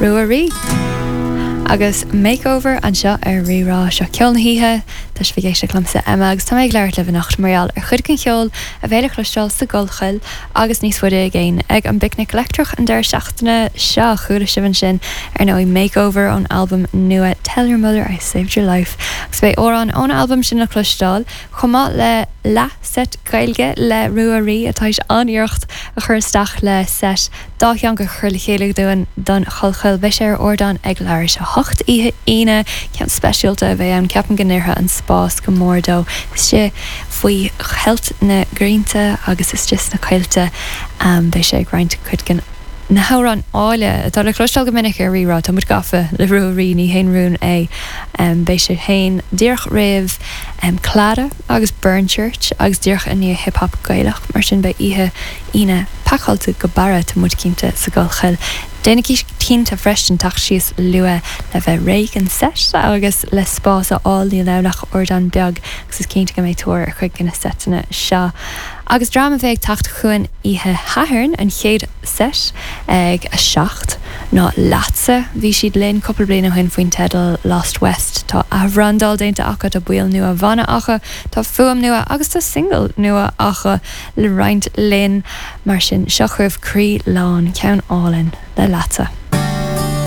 Rua Rí agus Makeover anseo ar Rí Rá. Seo Ceol na hOíche. Tá sibh ag éisteacht liomsa, Emma, agus tá mé ag labhairt libh anocht mar gheall ar chuid den cheol a bheidh le cloisteáil sa gCollchoill agus níos faide i gcéin ag an bPicnic Leictreach an deireadh seachtaine seo. Chuala sibh ansin, ar ndóigh, Makeover ón albam nua Tell Your Mother I Saved Your Life agus beidh amhrán ón albam sin le cloisteáil chomh maith le leath seit Gaeilge le Rua Rí atá théis an-iarracht a chur isteach le seit dátheangach a chur le chéile dúinn don Chollchoill. Beidh sé ar ardán ag leathuair tar éis a 8 oíche Aoine. Ceann speisialta a bheidh ann, ceapaim go n-oirfidh an spás go mór dó. Istigh faoi cheilt na ngrianta agus istigh sna coillte beidh sé ag roinnt cuid de na hamhráin áille atá le cloisteáil go minic ar Rí Rá. Tá muid gafa le Rua Rí, ní haon rún é. Beidh sé féin díreach roimh Clada agus Burnchurch agus díreach i ndiaidh Hip Hop Gaelach, mar sin beidh oíche Aoine pacáilte go barra, tá muid cinnte, sa gCollchoill. Déanaigí cinnte freisin teacht síos luath le bheith réidh don seit agus le spás a fháil, níl ann ach ardán beag agus is cinnte go mbeidh tóir ar chuid de na seiteanna seo. Agus dream a bheidh ag teacht chugainn oíche Shathairn, an chéad seit ag 7, ná Leatsa. Bhí siad linn cúpla bliain ó shin faoin teideal Lost West. Tá athbhrandáil déanta acu, tá baill nua bhanna acu, tá fuaim nua agus tá singil nua acu le roinnt linn. Mar sin, seo chugaibh Croí Lán, ceann álainn le Leatsa.